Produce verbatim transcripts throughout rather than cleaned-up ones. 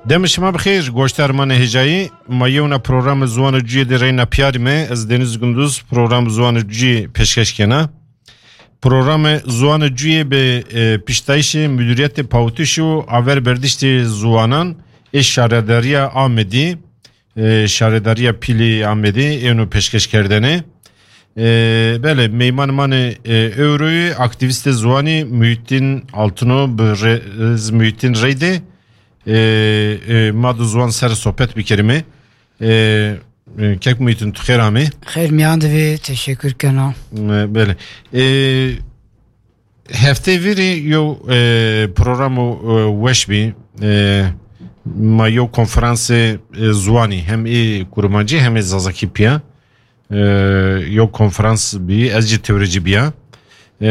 Demê şima bi xêr, goşdarmanê hêjayî. Ma yewna programê Ziwan û Cuyê de reyna piyarî me. Ez Deniz Gunduz, programê Ziwan û Cuyê pêşkeş kena. Programê Ziwan û Cuyê bi, e, piştayîşê Müdüriyetê Pawitiş û Aver Berdiştê Ziwanan ê Şaredariya Amedî, e, Şaredariya Pîlî Amedî êno pêşkeş kerdene. E, belê, meyman manê, e, ewroyê aktîvîstê ziwanî Muhittin Altino bi rê-, Muhittin Reydê, e, e, ma du ziwan ser sohbet bikerime. E, e, kek Muhittin, tu xêr amê. Xêr miyan divê, teşekkür kena. E, belê. E, Heftê vîrî yew, e, programo, e, weş bî. E, ma yew konferansê, e, ziwanî, hem ê kurmancî hem ê zazakî piya. E, yew konferans bî, ez jî tewrecî biya. E,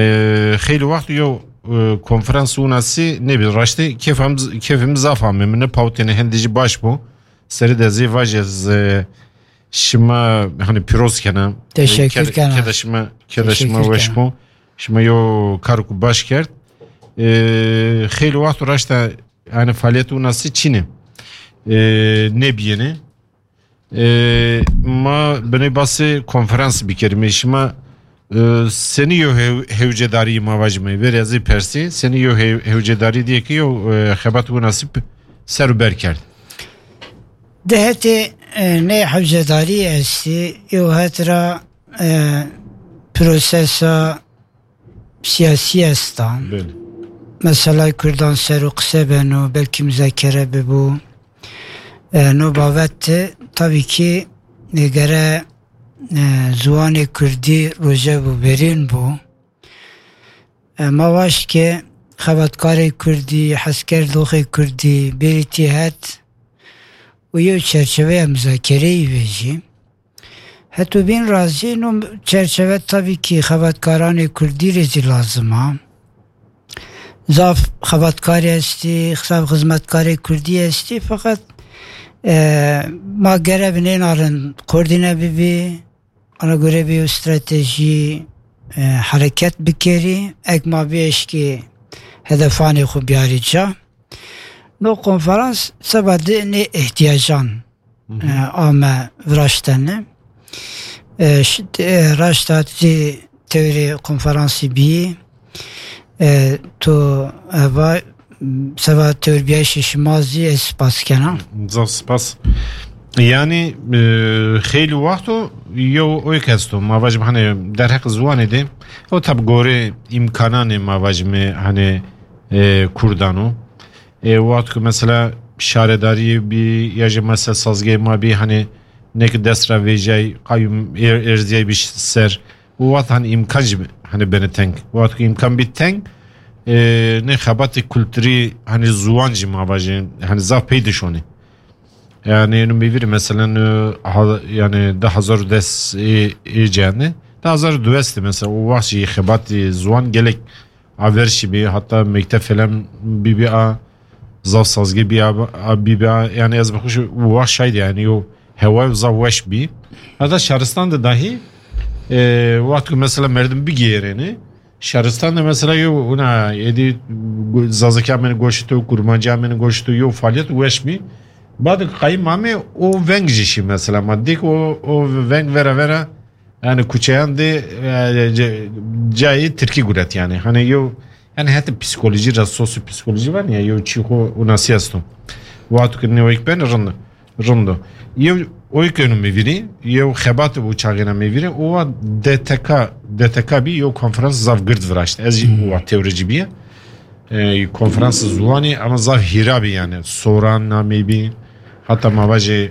xeylî wext yew, e, konferans winasî nebî. Raştî kêfim, kêfim zaf ame. Min nepawtêne, hindî jî baş bû. Serê de zê vajê ez, e, şima, hani, pîroz kena. Teşekkür kena. Keda şima, keda şima weş bû. Şima yo kar ku baş kerd. E, xeylî wext raşta, yani, faaliyet winasî çîne. E, nebiyene. E, ma binê basê konferans bikerime. Şima, e, senî yo hew-, hewcedarî ma vajime. Verê ez ê persî, senî yo hew-, hewcedarî diye ki yo, e, xebat winasî p-, ser û ber kerd. Di hetê, e, nê hewcedarî estî, yo het ra, e, prosesa siyasî esta. Belê. Meselay Kurdan ser û qise beno, belkî muzakere bibû. E, no bavet, tabii ki, e, gere, e, ziwanê Kurdî roje bû, berîn bû. E, ma waşt ke xebatkarê Kurdî, hezkerdoxê Kurdî, bêrîtî het û yew çerçeveya muzakereyî vejî. Heto bîn razî, no çerçeve tabii ki xebatkaranê Kurdî rê zî lazim a. Zaf xebatkarê estî, zaf xizmetkarê Kurdî estî, feqet, e, ma gere bi nêna rind koordîne bibî, ana göre bi stratejî, e, hereket bikerî, ek ma bi eşkî hedefanê xwe biyarî ca. No konferans seba di nê ihtiyacan, e, ame viraştene. E, ş-, e, raşta tu tewrê konferansî bî, e, tu eva seba tewrbiyayîşê şima zî ez spas kena. Zaf spas. Yani, e, xeylî wext o, yew oy kesto. Ma vajim, hani, derheq ziwanê de, o tab gorê îmkananê ma vajime, hani, e, Kurdan o. E, wext ku mesela şaredariyê bî, ya jî mesela sazgehê ma bî, hani, nek dest ra vêjay, qayûm êr-, êrziyay bî ş-, ser. Û wext, hani, îmkan jî, hani, bene teng. Wext ku îmkan bî teng, e, ne xebatê kulturî, hani, ziwan jî ma vajin, hani, zaf pey dişonê. Yani, êno mêvîrî, mesela, e, ha-, yani, di hezar û des ê, ê cihane, di hezar û dû de mesela, o wext jî xebatê ziwan gelek aver şî bî, hatta mekteb falan bî bî a, zaf sazgeh bî a, a bî bî a, yani ez bi xwe jî wext şahid, yani yo hewa zaf weş bî. Hatta şaristan de dahi, e, wext ku mesela merdim bigêrêne, şaristan de mesela yo huna êdî go-, zazakî amêne goşto, kurmancî amêne goşto, yo faaliyet weş bî. Bad qayîm amê o veng jî şî mesela, ma dîk o, o veng vera vera Yani kuçeyan de, e, ce-, cayê Tirkî guret yani. Hani yo, yani heta psikolojî ra, sosyopsikolojî var ya, yo çî xo winasî esto. Wexto ke newek ben rind, rind o. Yo oy ke êno mêvîrî, yo xebat û çaxêna mêvîrî, o wa D T K, D T K bî yo konferans zaf gird viraşt. Ez jî Hmm. wa tewrecî bîye. E, konferans ziwanî ama zaf hîra bî yani. Soran namê bî. Hatta ma vajê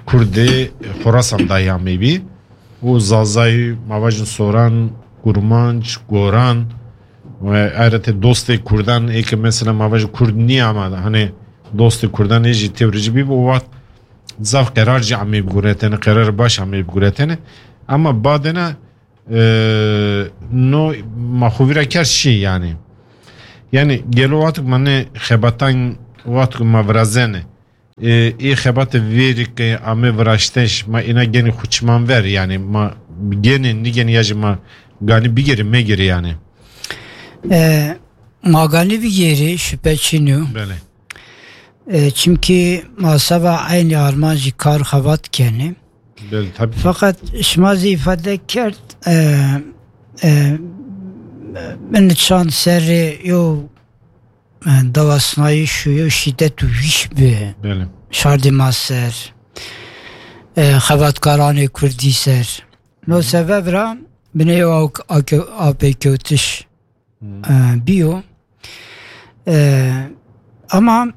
Kurdê Xorasan dayê amê bî. Û Zazayî, ma vajin Soran, Kurmanc, Goran, ve ayrıca dostê Kurdan, ê ke mesela ma vajin Kurd nîya ama, hani dostê Kurdan ê jî tewricî bî, o wext zaf qerar jî amê biguretene, qerar baş amê biguretene. Ama badene, e, no ma xo vîra kerd şî yani. Yani gelo wext ma ne xebatan, wext ma virazene. E, ê xebatê vêrî ke ame viraşteş, ma êna genî xwe çiman ver, yani ma genî, nîgenî ya jî ma ganî bigêrî, megêrî yani. E, ma ganî bigêrî, şüphe çin yo. Belê. E, çimkî ma seba eynî armancî kar xebat kenê. Belê, tabii. Feqet şima zî îfade kerd, e, e, min çand serê yo, e, dawasnayîş û yo şîdet û wîş bi Belê. şardê ma ser, e, xebatkaranê kurdî ser. No sebeb ra binê yo awk-, ake-, apêkewtiş, Hmm. e, biyo. E, ama,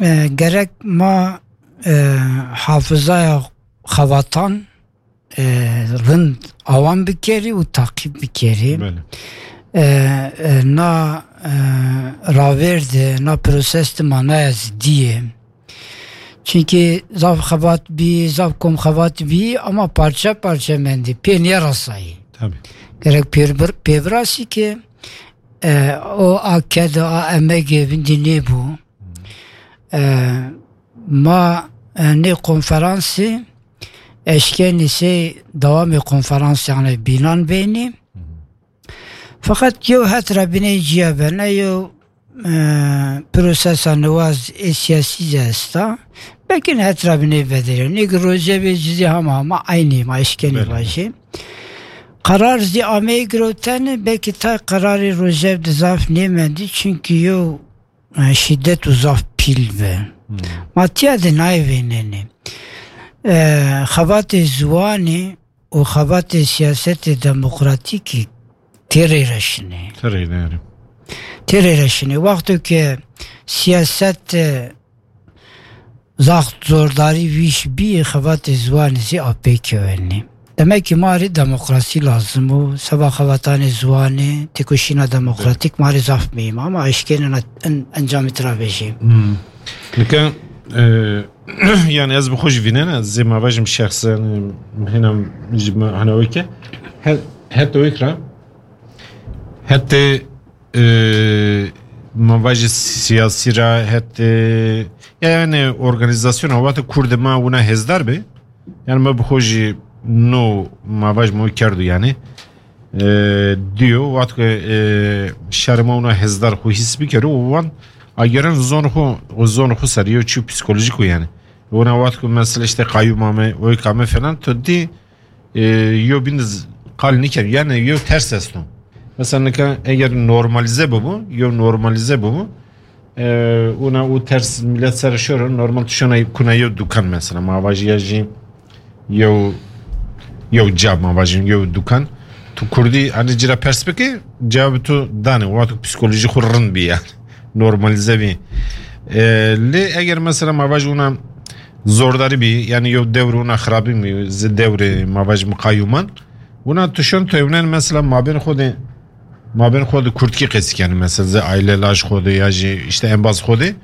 e, gerek ma, e, hafizaya xebatan, e, rind awan bikerî û taqîb bikerî. Belê. E, e, na, e, ravêr de, na proses de manaya zidî ye. Çimkî zaf xebat bî, zaf kom xebat bî, ama parçe parçe mendî. Pê nêrasayî. Tabii. Gerek pêbir-, pêbirasî ke, e, o a ked, a emegê vindî nêbû. E, ma, e, nê konferansê eşkenî sey dewamê konferansê, yanî bînan beynî. Feqet yew het re binê ciya be, ne yew, e, prosesa niwaz ê siyasî zî esta. Belkî ne het re binê vedere. Nê ki rojevê cizî hema hema eynî ma eşkenî Belê. vajê. Qerar zî ameyî girotene, belkî tay qerarê rojev di zaf nêmendî, çimkî yew, e, şîdet û zaf pîl be. Hmm. Ma tiya de nayê vênenê. E, xebatê ziwanê û xebatê siyasetê demokratîkî tê rê re şinê. Tê rê re. Tê rê re şinê. Wexto ke siyaset, e, zaxt zordarî wîş bî, xebatê ziwanê zî apê kewenî. Demek ki ma rê demokrasî lazim û seba xebatanê ziwanê, têkoşîna demokratîk ma rê zaf muhîm e, ama eşkenê na en-, encamê tira vejî. Hmm. Nika, e, yani ez bi xwe jî vînena, zê ma vajim şexsen, e, hena ji me hena weke. He-, heta wek ra, heta, e, ma vajî siyasî ra, heta, yani organizasyona wate Kurdê ma wina hêzdar be. Yani me bi xwe jî no ma vaj mo kerdo yani. E, diyo, wat ku, e, şerê ma wina hêzdar xwe hîs bikero û wan ageren zon xwe, û zon xwe ser, yo çi psikolojik o yani. Wina wat ku mesela işte qayyuma me, oyka me falan, tu dî, e, yo bin z-, qal nikir, yani yo ters esto. Mesela nika eger normalize bibo, yo normalize bibo, e, wina û ters millet ser şoro, normal tu şona kuna yo dukan mesela, ma vajî ya jî yew, yew ca ma vajin, yew dukan. Tu kurdî, hani cira pers bike, cevabê tu dane, wexto psikolojî xwe rind bî yani. Normalize bî. E, lê eger mesela ma vaj wina zordarî bî, yani yew dewr wina xirabî bî, zi dewrê ma vaj miqayûman, wina tu şon tu ewnen mesela mabên xwe de, mabên xwe de kurdkî qesî kenî, mesela zi aile laj xwe de ya jî işte embaz xwe de,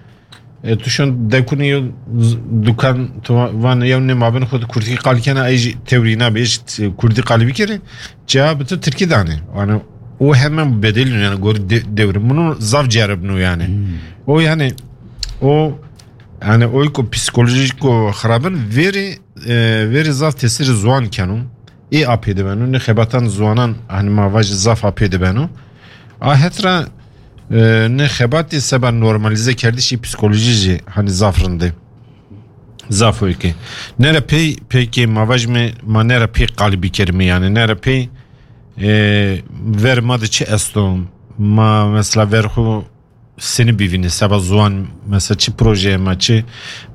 E, tu şon dekunî yo z-, dukan, tu va-, van yew nê mabin xwe di kurdkî qal kena, ey jî tewrî nabe, ê jî t-, kurdî qalî bikere, cevabê tu tirkî dane. Yani, o hemen bedel yani gor de-, devrim. Bunu zaf ceribno yani. Hmm. O yani, o yani, o ko psikolojik o xirabin veri, e, veri zaf tesiri zuan kenu. Ê apê de beno, ne xebatan zuanan, hani ma vaj zaf apê de beno. A hetra, e, ne xebatê seba normalize kerdişî psikolojî jî, hani zaf rinde. Zaf oyke. Nere pey, peyke ma vaj me, ma nere pey qalibî kerime yani. Nere pey, e, ver ma de çi esto? Ma mesela ver xu seni bivîne, seba zuan, mesela çi projeyê me, çi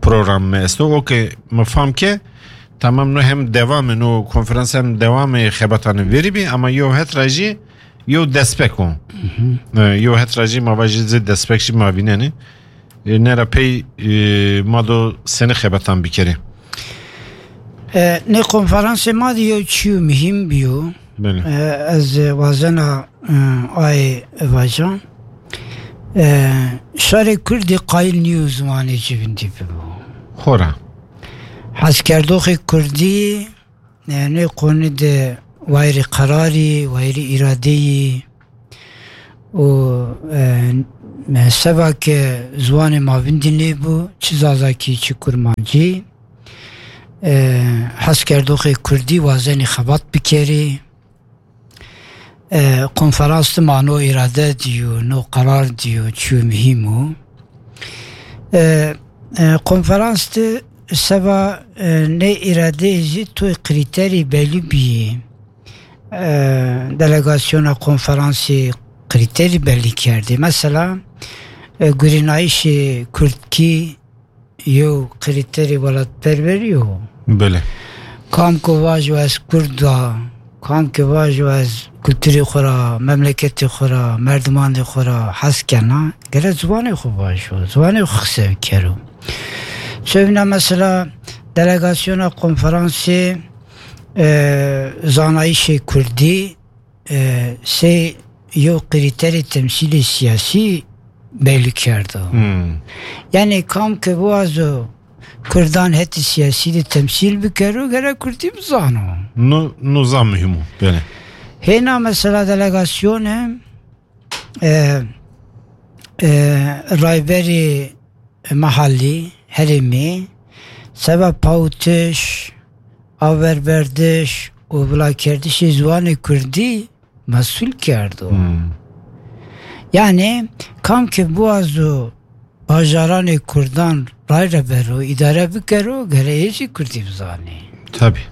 program me esto. Okey, me fam ke, tamam, no hem dewam e, no konferans hem dewam e, xebatane verî bî, ama yo het ra jî yo destpek o. E, yo het ra jî ma va jî zê destpek jî ma vînenê. E, nera pey, e, ma do seni xebatan bikerê. E, ne konferansê ma de yo çîyo muhîm biyo. Belê. E, ez wazena, e, ay vajan. E, şarê Kurdî qayil nîyo ziwanê civindî bibo. Xora. Hezkerdoxê Kurdî, e, nê qonî de wayirî qerarî, wayirî îradeyî û, e, me seba ke ziwanê ma vindî nêbû, çi zazakî, çi kurmancî, e, hezkerdoxê Kurdî wazenî xebat bikerî. E, konferans dima no îrade dîyo, no qerar dîyo, çîyo muhîm o. E, E, konferans de seba, e, ne îradeyê jî tu krîterî belî bîyî. E, delegasyona konferansê krîterî belî kerdî. Mesela, e, gurînayîşê kurdkî yew krîterî welatperwerî yo. Belê. Kam ku vajo ez kurd a, kam ku vajo ez kulturê xwe ra, memleketê xwe ra, merdimanê xwe ra hez kena, gere ziwanê xwe vajo, ziwanê xwe qise bikero. Çevna mesela delegasyona konferansê, e, zanayîşê kurdî, e, sê yew krîterê temsîlê siyasî belî kerdo. Hmm. Yani kam ke biwazo kurdan hetî siyasî de temsîl bikero, gerek kurdî bizano. No, no zaf muhîm o. Belê. Hêna mesela delegasyonê, e, e, rayberî mehallî, herêmî, seba pawitiş, awerberdiş û vilakerdişê ziwanê kurdî mesûl kerdo. Hmm. Yani, kam ke biwazo bajaranê kurdan ray re bero, îdare bikero, gere ê jî kurdî bizanî. Tabii.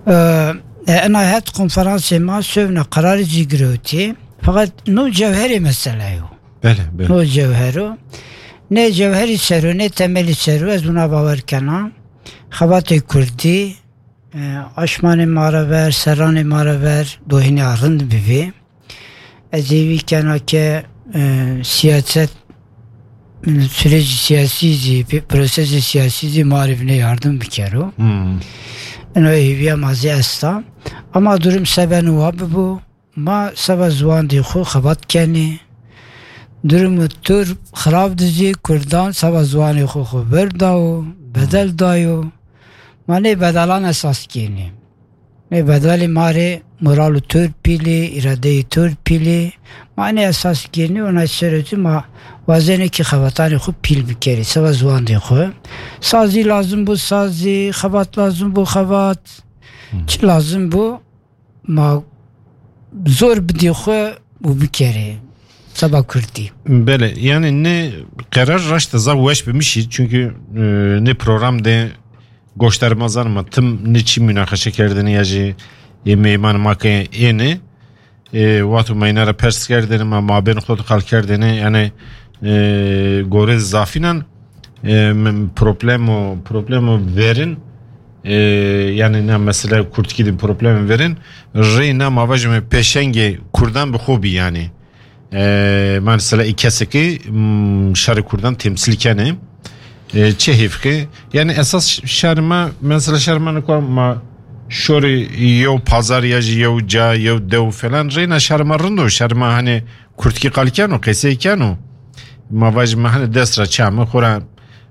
Ee, e, ena het konferansê ma şevne kararê jî girewtî. Fakat no cewherê mesele yo. Belê, belê. No cewhero. Ne cewherî sero, ne temelî sero, ez buna bawer kena. Xebatê kurdî, e, aşmanê ma re ver, serranê ma re ver, dohînê rind bivê. Ez ê vî kena ke, e, siyaset, sürecî siyasî zî, prosesê siyasî zî ma re vine yardım bikero. Hmm. Eno hêviya ma zî esta. Ama durum seben wa bibo. Ma seba ziwandê xwe xebat kenê. Durumu tur xirab dizî kurdan seba ziwanê xwe xwe berdawo, bedel dayo. Ma nê bedelan esas kênê. Nê bedelê ma rê moral û tur pîlê, îradeyê tur pîlê. Ma nê esas kênê û na serê tu ma wazenê ki xebatanê xwe pîl bikerê, seba ziwandê xwe. Sazî lazim bû sazî, xebat lazim bû xebat. Çi lazim bû? Ma zor bidî xwe û bikerê. Seba kurdî. Belê, yani ne qerar raşte zaf weş bimişî, çünkü, e, ne program de goştar ma zanima tim ne çi münakaşe kerdini ya jî, e, meyman ma ke êne, e, watu meyna re pers kerdini, ma, ma bên xwe qal kerdini, yani, e, gore zafinan, e, m-, problemo, problemo verin, e, yani ne mesela kurdkî de problem verin, reyna ma vajime peşengê kurdan bi xwe bî yani. E, mesela î kesekî, m, şerê kurdan temsil kene. E, çi hêf ki? Yani esas şerê me, mesela şerê me niko ma şorî yew pazar ya jî yew ca, yew dew falan, reyna şerê me rind o, şerê me hani kurdkî qal keno, qesey keno. Ma vajime hani dest ra çame xora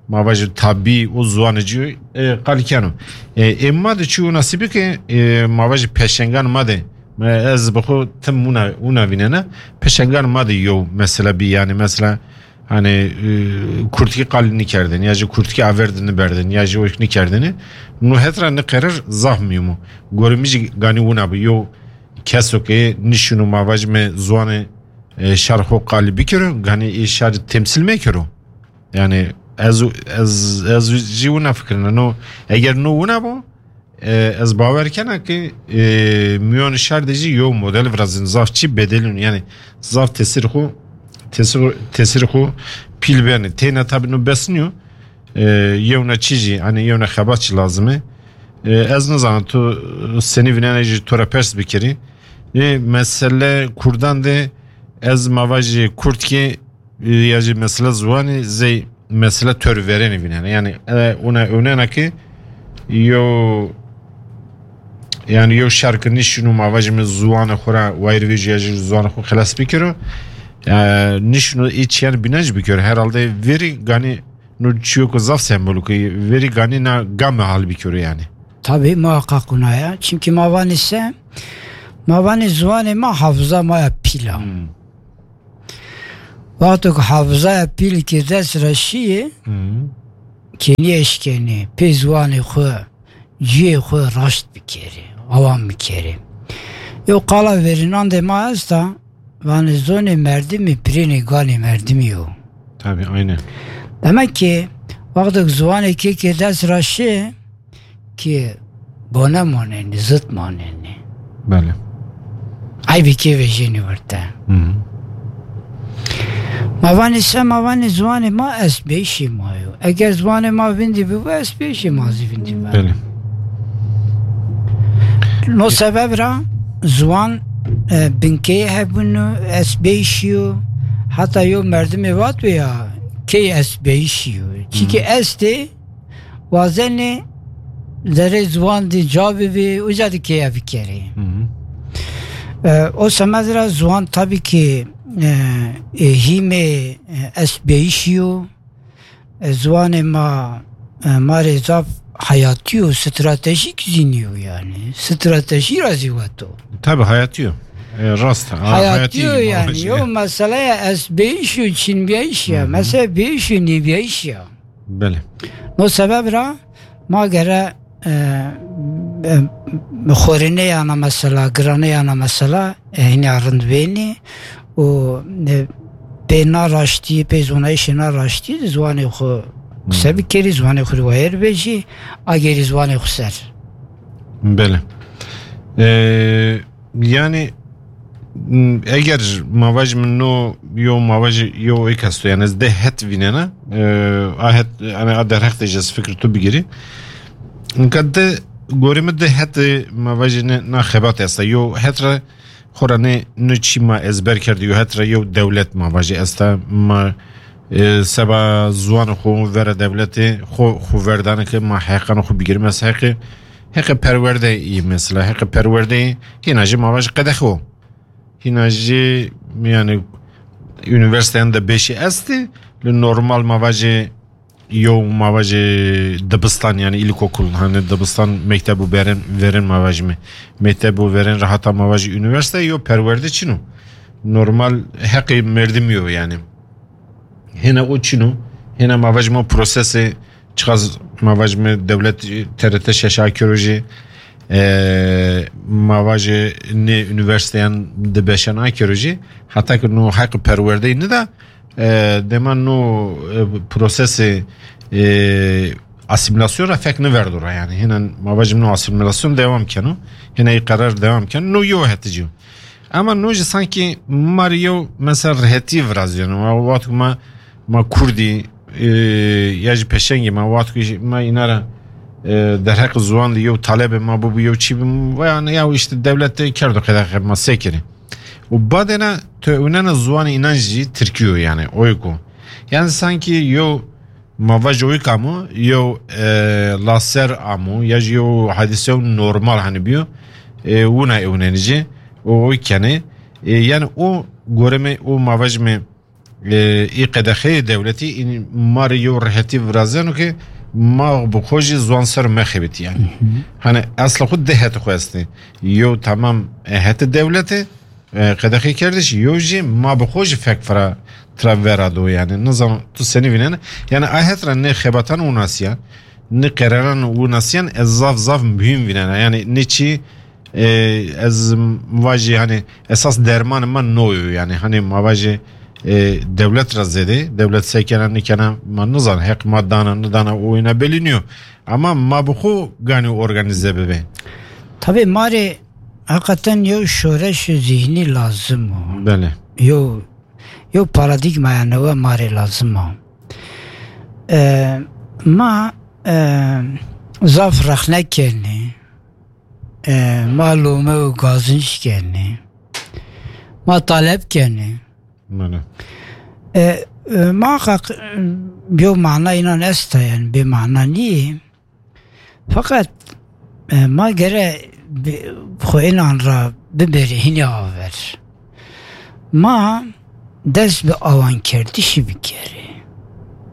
ma vajî tabî û ziwanê cî, e, qal keno. E, ê ma de çi wina sibî ke, e, ma vajî peşengan ma de, me ez bi xwe tim wina, wina vînena, peşengan ma de yew mesela bî, yani mesela, hani, e, kurdkî qal nikerdin, ya jî kurdkî aver de niberdin, ya jî wek nikerdin. No het ra ne qerar zaf muhîm o. Gorê min jî ganî wina bû, yew keso ke nişino ma vajime ziwanê, e, şar xwe qal bikiro, ganî ê şar temsil mekiro. Yani ez, ez, ez jî wina fikirine. No, eger no wina bo, e, ez bawer kena ki, e, miyon şer de jî yo model virazin zaf çi bedelin. Yani zaf tesir xu, tesir, tesir xu pîl beni. Têna tabi no bes niyo. E, yewna çi jî, hani yewna xebat çi lazime. E, ez nizanim tu senî vinene jî tu re pers bikirî. E, mesele kurdan de ez mava jî kurdkî, e, ya jî mesela ziwanî zey mesela tör verênî vînene. Yani, e, ona önena ki yo, yani yo şarkı nişinu mava jî min ziwanê xwe ra wayir vê jî ya jî ziwanê xwe xelas bikiro. E, nişinu iç yani binaj bikiro. Herhalde veri gani no çiyo ku zaf sembolik e, veri gani na game hal bikiro yani. Tabii muhakkak ona ya. Çünkü ma vanî se, ma vanî ziwanê ma hafıza ma ya pîl a. Hmm. Wexto ku hafizaya pîl ki dest re şiyê, Hmm. kênî eşkenê, pê ziwanê xwe, ciyê xwe raşt bikerê, awan bikerê. Yo qala verînan de ma esta, vanê zonê merdimî pirênê ganê merdimî yo. Tabii, aynen. Demek ki wextek ziwanê kê kê dest ra şê ki bone manenî, zit manenî. Belê. Eybî kê vejînî werte. Hı hı. Ma vanê se, ma vanê ziwanê ma estbêyîşî ma yo. Eger ziwanê ma vindî bibo, estbêyîşî ma zî vindî be. Belê. No sebeb ra ziwan, e, binkeyê hebûn û estbêyîşî yo. Heta yo merdimê vat wê ya, key estbêyîşî yo. Çîkî Hı. estê, wazenê zerê ziwan dî ca bibê, uca dî keye bikerê. Hı hı. E, o semed ra ziwan tabii ki, e, e, hîmê, e, estbêyîşî yo. E, ziwanê ma, e, ma rê zaf heyatî yo, stratejîk zî nîyo yani. Stratejî ra zî weto. Tabii, heyatî yo. E, rast. Ha, Heyatî heyatî yo yani. Yo, mesela ya estbêyîş û çînbêyîş ya. Hı hı. Mesela bêyîş û nîbêyîş ya. Belê. No sebeb ra ma gere, e, e, xorîneyana mesela, giraneyana mesela, e, hîna rind bênî û, e, pê na raştî, pê zonayîşê na raştî, ziwanê xwe qise Hmm. bikerî, ziwanê xwe wayir bêjî, agêrî ziwanê xwe ser. Belê. E, yani, m, eger ma vajî min no yo ma vajî yo êk esto, yani ez deh het vînena, e, a het, yani a derheq de ji ez fikir tu bigirî. Inka de gorê min de het, e, ma vajî ne, na xebat esta. Yo het re xora ne, ne çî ma ezber kerdî, yo het re yo dewlet ma vajî esta, ma, e, seba ziwan xo vera dewletê xo, xo verdane ke ma heqan xo bigirî. Mes heqê, heqê perwerde yî mesela, heqê perwerde yî hîna jî ma vajî qedexe o. Hîna jî, yani, unîversîteyan de beşî estî, li normal ma vajê yo ma vajê dibistan, yani ilkokul, hani dibistan, mekteb û berin, verin ma vajî me. Mekteb û verin rahata ma vajî unîversîte yo perwerde çin o. Normal heqê merdimî yo yani. Hêna o çin o, hêna ma vajî me prosesê çiqas ma vajî me dewlet T R T şeş akiro jî, e, ma vajî nê unîversîteyan di beşan akiro jî, heta ki no heq perwerdeyî nida, e, dema no, e, prosesê, e, asîmîlasyon ra fek niverdo ra yani. Hêna ma vajî no asîmîlasyon dewam keno, hêna î qerar dewam keno, no yo hetici yo. Ama no jî sankî ma rê yew mesela rehetî virazîyeno. Ma wexto ma, ma kurdî, e, ya jî peşengî ma wexto jî ma îna ra, e, derheq ziwan de yew talebê ma bûbû, yew çî bû, ve yani ya işte dewlet de kerdo qedexe, ma sê kirî. Û badêna tu ewnena ziwanê înan jî tirkî yo yani, o yeko. Yani sankî yew ma vaj oyik amo, yew, e, laser amo, ya jî yew hadîse normal hani biyo, e, wina ewnenî jî, o oyik kenê. E, yani o gore me, o ma vaj me, e, î qedexeyê dewletî, în ma rê yew rehetî virazeno ke ma bi xwe jî ziwan ser mexebitî yani. Hı hı. Hani esla xwe de heti xwe estê. Yew tamam, e, heti dewletê, e, qedexê kerdiş, yo jî ma bi xwe jî fek fira tira vera do yani. Nizam tu senî vînene. Yani a het ra ne xebatan û nasiyan, ne qeraran û nasiyan ez zaf zaf muhîm vînena. Yani ne çî, e, ez vajî hani esas derman ma no yo yani. Hani ma vajî, e, dewlet ra zêde, dewlet sekena nikena ma nizan, heq ma dana nidana o ina belî niyo. Ama ma bi xwe ganî organize bibe. Tabii ma rê heqeten yew şoreş zihnî lazim o. Belê. Yew, yew paradîgmaya newe ma rê lazim o. E, ma, e, zaf rexne kenê. E, ma lome û gazinc kenê. Ma talep kenê. Belê. E, e, muhakkak, e, yew mana înan esta yani, bê mana nîyê. Feqet, e, ma gere bi-, xwe înan ra biberî hinî aver. Ma dest bi awankerdişî bikerî.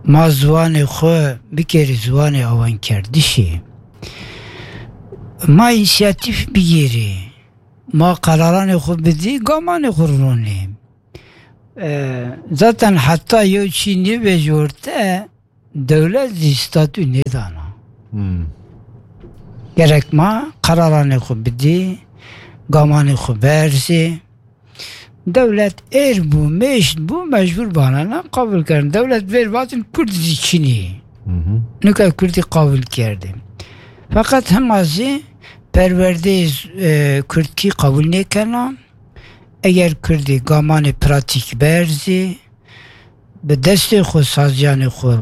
Ma ziwanê xwe bikerî ziwanê awankerdişî. Ma însiyatîf bigêrî. Ma qeraranê xwe bidî, gamanê xwe ronî. E, zaten heta yew çî nêbêje orte, dewlet zî statû nêdana. Hmm. Gerek ma qeraranê xwe bidî, gamanê xwe berzî. Dewlet êr bû, mêşt bû, mecbûr banana qabûl kirin. Dewlet vêr vatin Kurd zî çinî. Nika Kurdî qabûl kerdê. Feqet hema zî perwerdeyê z-, e, Kurdkî qabûl nêkena. Eger Kurdî gamanê pratîk berzî, bi destê xwe saziyanê xwe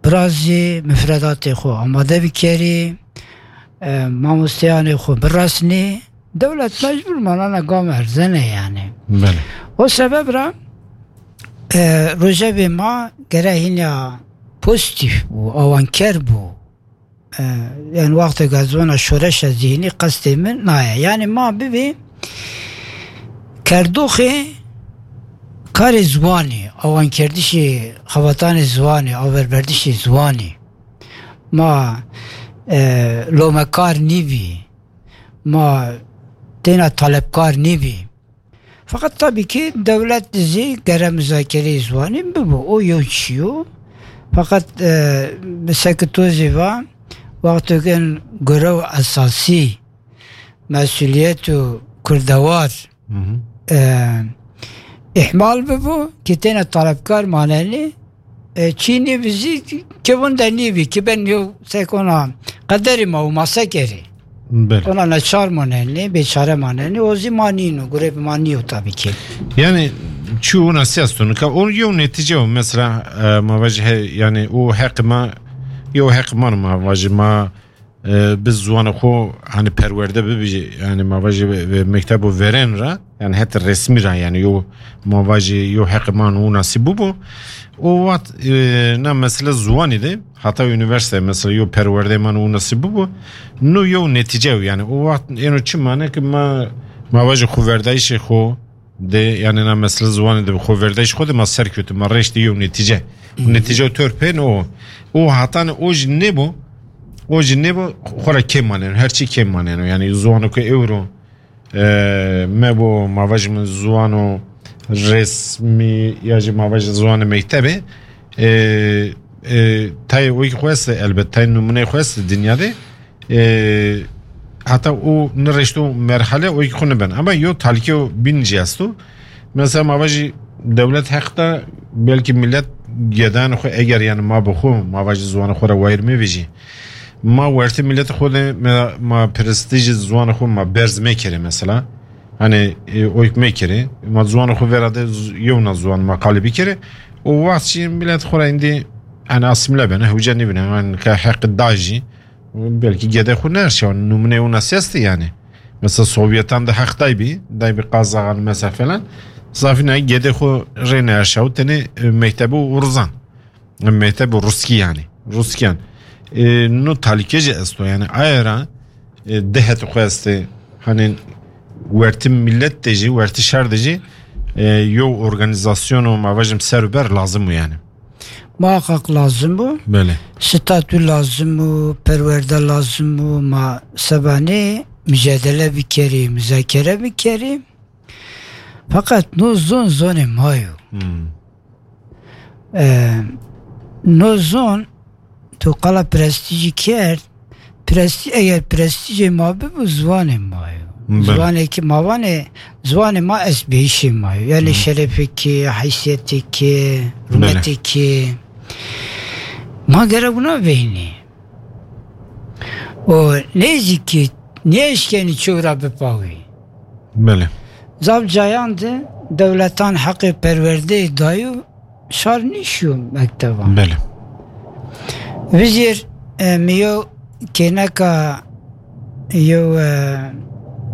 birazî, mifredatê xwe amade bikerî, e, mamosteyanê xwe biresnî, dewlet mecbûr manana gam erzene yani. Belê. O sebeb ra, e, rojevê ma gere hîna pozîtîf bû, awanker bû. E, yani wextê gazona şoreşa zîhnî qestê min naye. Yani ma bibî kerdoxê karê ziwanî, awankerdişê xebatanê ziwanî, averberdişê ziwanî. Ma, e, lomekar nîbî, ma têna talebkar nîbî. Feqet tabii ki dewlet zî gere muzakereyê ziwanî bibo. O yew çi yo. Feqet, e, bi sekitozê va, wextê gen görev esasî, mesuliyet û kurdewar, e, ihmal bibo, ki têne talebkar manenî, e, çînî vizî kevin de nîvî, ki ben yo sekona qederî ma û ma sekerî. Belê. Ona neçar manenî, bêçare manenî, o zî ma nîno, gurê bi ma nîyo tabii ki. Yani, çi ona siyas tu nika, o yo netice o, mesela, e, ma vajî he, yani, o heq ma, yo heq ma, ma vajî ma, e, bi ziwana xo, hani, perwerde bibî, yani, ma vajî ve, ve mektebo veren ra, yani, heta resmî ra, yani, yo, ma vajî, yo heq ma no nasîb bû. O wext, e, na mesele ziwanî de, heta unîversîte, mesela, yo perwerde ma no nasîb bû. No yo netîce yo, yani, o wext êno çi mane ki ma, ma vajî xoverdayîşê xo, de, yani na mesele ziwanê de bi xoverdayîş xo de ma ser kewtî, ma rêştî yew netîce. Û netîce tor pên o. O hatane o jî nêbo, o jî nêbo, xora kêm maneno, her çî kêm maneno. Yani ziwano ku ewro, e, me bo, ma vajî min ziwano resmî ya jî ma vajî ziwanê mektebê, e, e, tayê wekî xo este, elbet tayê numûneyê xo este dinya de, e, heta û nirêşto merhale û yekî xwe nibin. Ama yo talîkeyo bîn jî esto. Mesela ma vajî dewlet heq da belkî millet gedan xwe eger yani ma bi xwe, ma vajî ziwana xwe re wayir mevêjî. Ma wertê milletê xwe de ma, ma prestîjê ziwana xwe ma berz mekere mesela. Hani, e, oyk mekere. Ma ziwana xwe vera de z-, yewna ziwan ma qalî bikere. O wext jî millet xwe re îndî hani asîmle bene, hewce nibine. Yani ke heq da jî. Belkî gede xwe nerşa, numune wina seste yani. Mesela Sovyetan de heq daybî, daybî Qazaxan mesela falan. Zafî ne gede xwe rê nerşa û tenê, e, mektebe û rizan. E, mektebe Ruskî yani. Ruskiyan. E, no talîke jî esto yani. Ayera, e, dehet xwe este. Hani wertî millet de jî, wertî şer de jî, e, yo organizasyon û ma vajim ser û ber lazim o yani. Muhakkak lazim bû. Belê. Statû lazim bû, perwerde lazim bû, ma sebanê mücadele bikerî, muzakere bikerî. Fakat no zon zonê ma yo. Hmm. Ee, no zon tu qala prestîjî kerd, prestî-, eger prestîjê ma bibû, ziwanê ma yo. Belê. Ziwanê ki ma vanê, ziwanê ma estbêyîşê ma yo. Yani Hı. şerefê ki, heysiyetê ki, Belê. rûmetê ki. Ma gere wina veynî. O nêzîkî nêşkenî çewra bipawî. Belê. Zaf cayan de dewletan heqê perwerdeyê dayû şar nîşiyo mektevan. Belê. Vizêr, e, mi yo kêneka yo, e,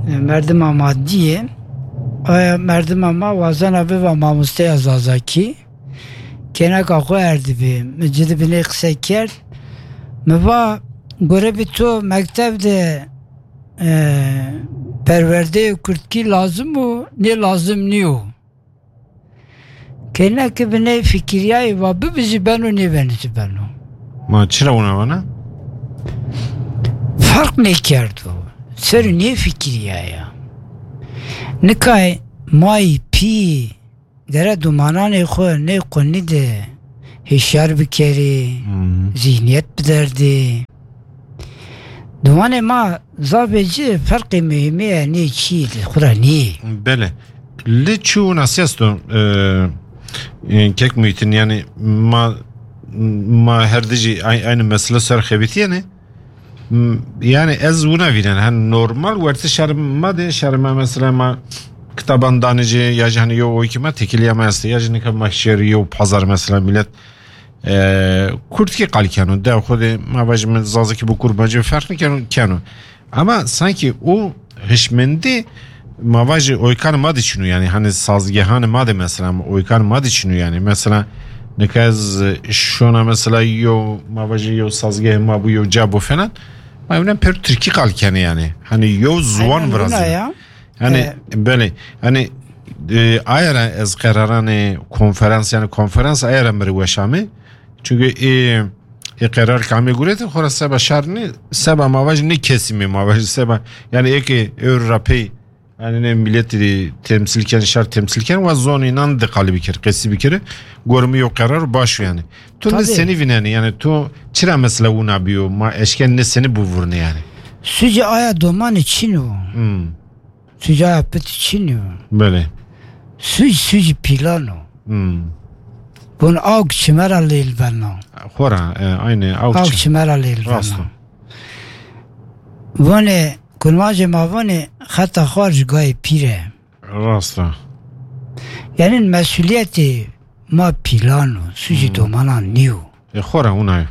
merdima ma diyê. Aya merdima ma wazena biva mamosteya Zazakî. Kêneka xwe erdibî. Mi ci di binê qise kerd. Mi va, gore bi to mektev de, e, perwerdeyê kurdkî lazim û nê lazim nîyo. Kêneke bi nê fikiriyayê va bibizî beno, nêbeni zî beno. Ma çira wina vana? Ferq nêkerdo. Ser nê fikiriyaya. Nikay may pî gere dumananê xwe nê qunî de hişyar bikerî, Hmm. zîhniyet biderdî. Dumanê ma zafê ci ferqê muhîmê ye, nê çî li xwe re nî. Belê. Li çû nasî esto, e, e, kek Muhîtin, yani ma, ma her dijî ay-, aynı mesele ser xebitiyene. M, yani ez wina vînen, hani normal wertê şerê ma de, şerê ma mesela ma kitaban danijê, ya jî hani yo oyki ma tekiliya ma este, ya jî nika ma şer yo pazar mesela millet, e, kurdkî qal keno, de xwe de ma vajî min zazakî bi kurmancî ferq nikeno, keno. Ama sanki o hişmendî ma vajî oykan ma de çinû, yani hani sazgehan ma de mesela oykan ma de çinû, yani mesela nika ez şona mesela yo ma vajî yo sazgeh ma bû yo ca bû falan, ma evnen per tirkî qal kene yani. Hani yo ziwan Aynen, virazî. Wina ya. Yani E, belê. Yani e, ayara ez qeraranê konferans, yani konferans ayara mi re weşame. Çünkü e, e qerar kamê gurete xora seba şar ne, seba ma vajî ne kesimê ma vajî seba. Yani eke eur rapey yani ne milletî temsil ken, şar temsil ken, wa zonî nan de qali bikir, qesî bikir. Gormi yo qerar baş yani. Tu ne Tabii. Seni vineni yani tu çira mesela wina biyo, ma eşken ne seni buvurne yani. Sucê aya domanê çin o. Hmm. Sucê aya piti çin o. Belê. Suc, sucê pîlan o. Hmm. Bun awk çimera lêl vena. Xora, e, aynı awk Awk çi- çimera lêl Rast vena. O. Vone, kunvacê ma vone, xeta xwar ji gayê pîre. Rast e. Yani mesuliyetê ma pîlan o, sucê Hmm. domanan niyo. E, xora wina ye.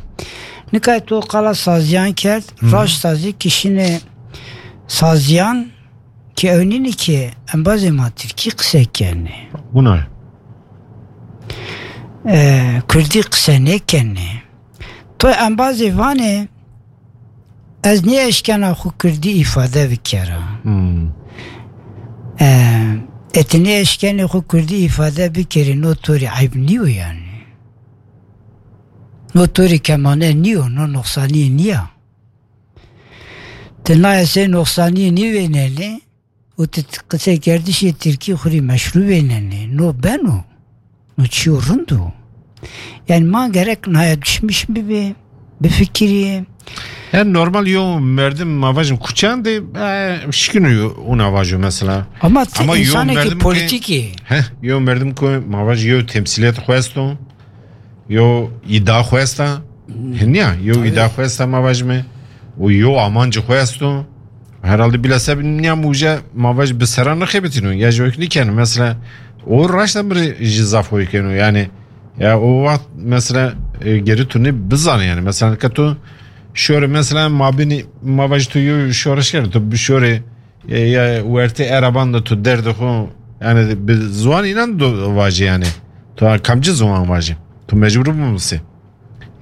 Nika tu qala saziyan kerd, Hı. Raşt sazî kişine saziyan ki ewnîni ki embazê ma tirkî qise kene. Wina ye. E, kurdî qise nekene. Tu embazê vane ez nêeşkena xwe kurdî îfade bikera. Hmm. E, e, tu nêeşkenê xwe kurdî îfade bikerî, no torî eyb nîyo yani. No torî kemane nîyo, no noxsaniyê niya. Ti nayê sê noxsaniyê nîvênenê û ti t-, qisê kerdişê tirkî xurî meşrû vênenê. No beno. No çiyo rind o. Yani ma gerek naya düşmüş bibe, bifikirî. Yani normal yo merdim ma vajim kuçan de, e, şikino yo una vajo mesela. Ama ti Ama yo insanekî merdim ki, politikî. He, yo merdim ku ma vaj yo temsiliyet xwesto. Yo îda xwe esta. Hiniya, yo Tabii. Îda xwe esta ma vajime. Û yo amancı xwe esto. Herhalde bila sebeb niya muje ma vaj bi sera nexebitîno. Ya ji wek nikeno. Mesela o raşta bir ji zaf hoy keno. Yani ya o vaxt mesela e, geri tu ne bizane yani. Mesela ka tu şöyle mesela ma bini ma vaj tu yo şöyle şey tu bir şöyle e, ya wertê ereban de tu derdê xwe, yani bi ziwan înan do vajî yani. Tu kamcî ziwan vajî. Tu mecbur bû misê.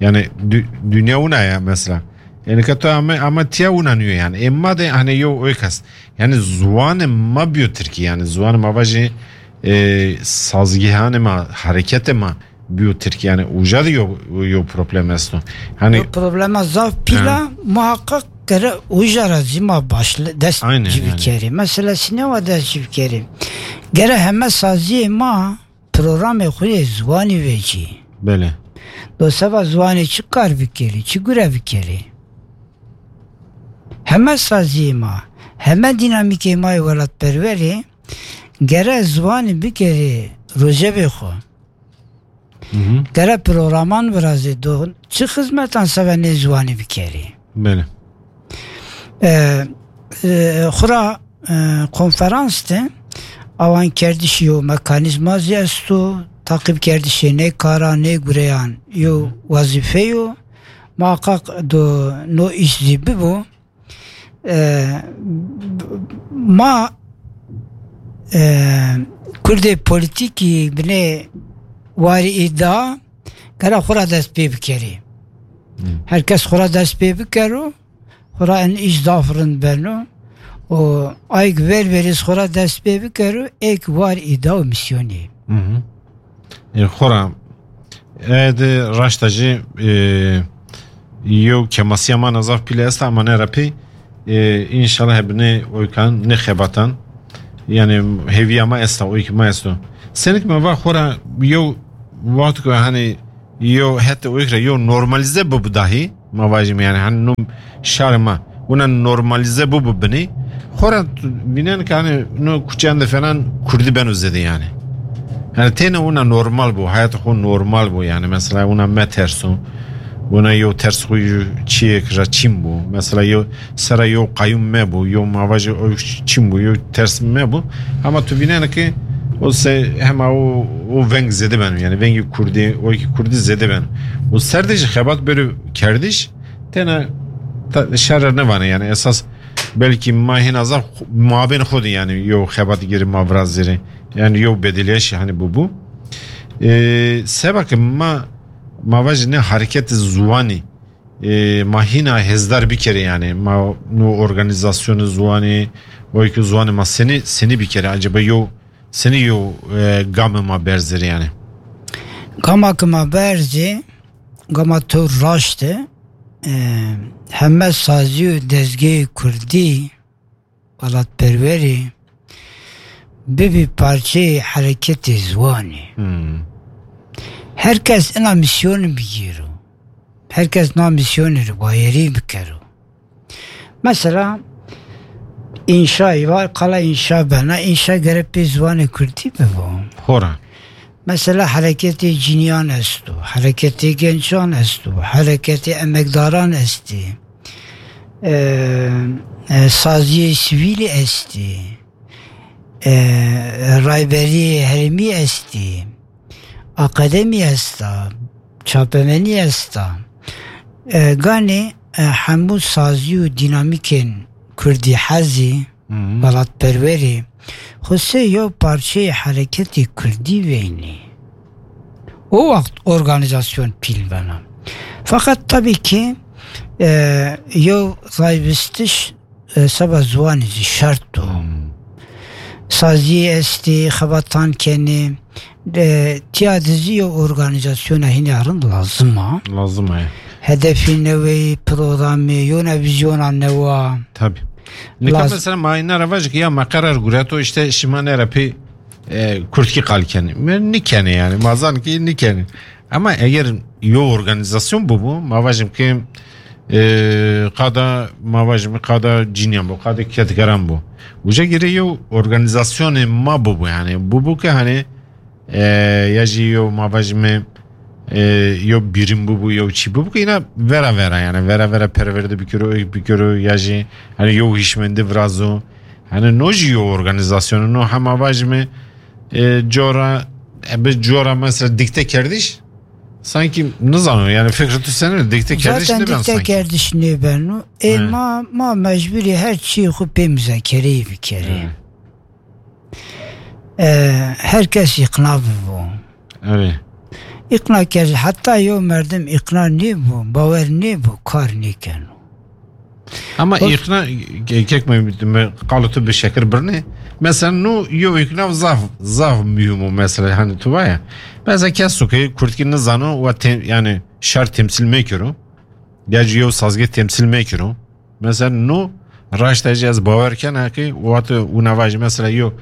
Yani dü- dünya wina ya mesela. Yani ka tu ama, ama tiya wina niyo yani. Ê ma de hani yo oykas. Yani ziwanê ma biyo tirkî yani. Ziwanê ma vajî e, sazgihanê ma, hareketê ma biyo tirkî yani. Uca de yo, yo problem esto. Hani Yo problema zaf pîla, He. Muhakkak gere uca ra zî ma başle dest Aynen, cî yani. Bikerî. Mesela sînewa dest cî bikerî. Gere heme saziyê ma programê xwe yê ziwanî vecî. Belê. Do seba ziwanê çi kar bikerî, çi gure bikerî? Heme saziyê ma, heme dînamîkê ma yê welatperwerê gere ziwanî bikerê rojevê xwe. Hı hı. Gere programan virazê do çi xizmetan seve nê ziwanî bikerî. Belê. E, e, xura, e, konferans de awan kerdişî yo mekanîzma zî esto, taqîb kerdişê nê kara, nê gureyan yo Hı hı. Wezîfe yo. Muhakkak do no îş zî bibo. E, ma, e, kurdê polîtîkî binê warî îda kara xwe ra dest pê bikerî. Hmm. Her kes xwe ra dest pê bikero, xwe ra en îş zaf rind beno. Û ayk ver verîz xwe ra dest pê bikero, êk war îda û mîsyonî. Hı hı. E, xora, e, de raşta jî, e, yew kemasiya ma zaf pîle esta, ama ne ra pê, e, înşallah hebine oykan ne xebatan. Yani hêviya ma esta, oyki ma esto. Senik me va xora yew vaxt ku hani yew hette oyk ra yew normalize bibu dahi, ma vajim yani hani num şar ma. wina normalize bû bi binê. Xora tu bînen ki hani no kuçeyan de falan kurdî beno zêde yani. Yani têne wina normal bû, hayata xo normal bû yani. Mesela wina me terso. Wina yo ters xo yo çiyek ra çîn bû. Mesela yo sera yo qayûm me bû, yo mavaji o çîn bû, yo ters me bû. Ama tu bînen ki o se hema o, o veng zêde beno yani. Vengî kurdî, o ki kurdî zêde beno. O serdê jî xebat beri kerdiş, têne ta-, şer nevane yani. Esas belkî ma hêna zaf xu-, mabên xwe de yani yo xebat girî ma virazirî. Yani yo bedeliyeş hani bû bû. Ee, seba ki ma, ma vajî ne hareket ziwanî, ee, ma hîna hêzdar bikere yani. Ma no organizasyonu ziwanî, o ki ziwanî ma seni, seni bikere. Acaba yo, seni yo, ee, game ma berzir yani. Gama ki ma berzî, gama to raşt e, e, heme sazî û dezgehê kurdî, welatperwerî, bibî parçeyê hereketê ziwanî. Hmm. Her kes ina mîsyonê bigîro. Her kes na mîsyonê re bayerî bikero. Mesela, înşayî var, qala înşa bena, înşa gere pê ziwanê kurdî bibo. Xora. Mesela, hereketê cîniyan esto, hereketê gençan esto, hereketê emekdaran estê, e, e, saziyê sivîlî estê, e, rayberiyê herêmî estê, akademî esta, çapemenî esta. E, ganê, e, hemû sazî û dînamîkên kurdî hezî, Hı hı. welatperwerî, xwesê yew parçeyê hereketê kurdî veynî. O wext organîzasyon pîl bena. Feqet tabii ki, e, yew rayvistiş, e, seba ziwanî jî şert o. Hmm. Sazî estê, xebatan kenê, e, tiya dizî yew organîzasyona hînê rind lazim a. Lazim e. Hedefî newê, programê, yona vîzyona newa. Tabii. Nika Laz- mesela ma îna re vajik ya me qerar gureto, işte şima nere pê, e, kurdkî qal kenê. Me nikene yani, ma zan ki nikene. Ama eger yo organizasyon bûbû, ma vajim ki, e, qada, ma vajim qada cîniyan bû, qada kedgeran bû. Uca girê yo organizasyonê ma bûbû yani. Bûbû ki hani, e, ya jî yo ma vajim, e, yo birim bûbû, yo çî bûbû ki îna vera vera yani. Vera vera perwerde bikiro, ek bikiro, ya jî hani yo hişmendî virazo. Hani no jî yo organizasyon, no hema vajim, e, cora, e, bi cora mesela dikte kerdiş, sanki nizano yani fikri tu sene dikte kerdiş Zaten neben dikte sanki. kerdiş nêbeno. E, He. ma, ma mecburî her çî xwe pê muzakereyê bikerê. He. E, her kes îqna bibo. Evet. Îqna kir, heta yo merdim îqna nêbo, bawer nêbo, kar nêkeno. Ama Bak- îqna, ke-, kek me, me qalu tu bi şekir birne. Mesela no yo îqna zaf, zaf mühim o mesela hani tu vaya. Mesela keso ki kurdkî nizano ve tem-, yani şer temsil mekiro. Ya jî yo sazgeh temsil mekiro. Mesela no raşta jî ez bawer kena ki wate û nava jî mesela yo,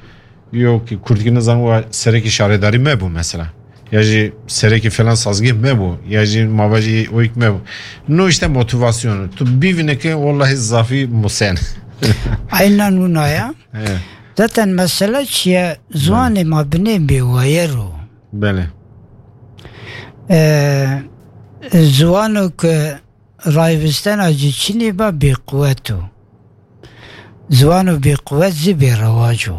yo ki kurdkî nizano ve serekî şaredarî me bû mesela. Ya jî serekî falan sazgeh me bû. Ya jî mava jî oyk me bû. No işte motivasyonu. Tu bivîne ki wallahi zafî musen. Aynen wina ya. He. Zaten mesele çiye? Ziwanê ma binê bêwayer o. Belê. Ee, ziwano ki rayvistena jî çinî ba bêquwet o. Ziwano bêquwet zî bêrewac o.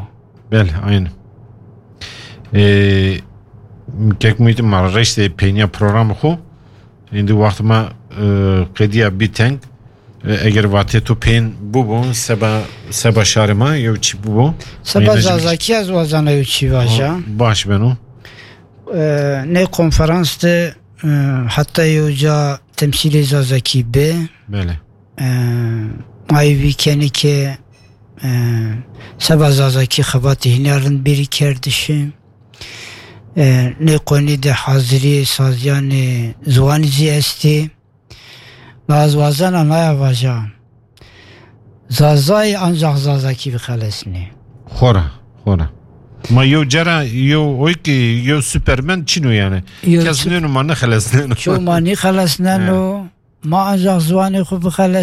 Belê, aynen. Ee, kek Muhîtîn ma reştê peyniya programê xo. Êndî wext me, e, qediya bî teng. E, eger vatê tu pên bûbû, seba, seba şarê me, yew çi bûbû? Seba Êndî jî Zazakî ez wazana yew çi vaja. Baş beno. E, nê konferans de, e, heta yew ca temsîlê Zazakî be. Belê. E, ayî vî kenê ke, e, seba Zazakî xebatê hînê rind bêrî kerdişê. E, nê qonî de haziriyê saziyanê ziwanî zî estê. Ma ez wazena naya vaja. Zazayî ancak Zazakî bixelesnê. Xora, xora. Ma yew cara, yew oy ki, yew Superman çin o yani. Yew Kes çi- nêno ma nexelesneno. Ço ma nîxelesneno. He. Ma ancak ziwanê xwe bixeles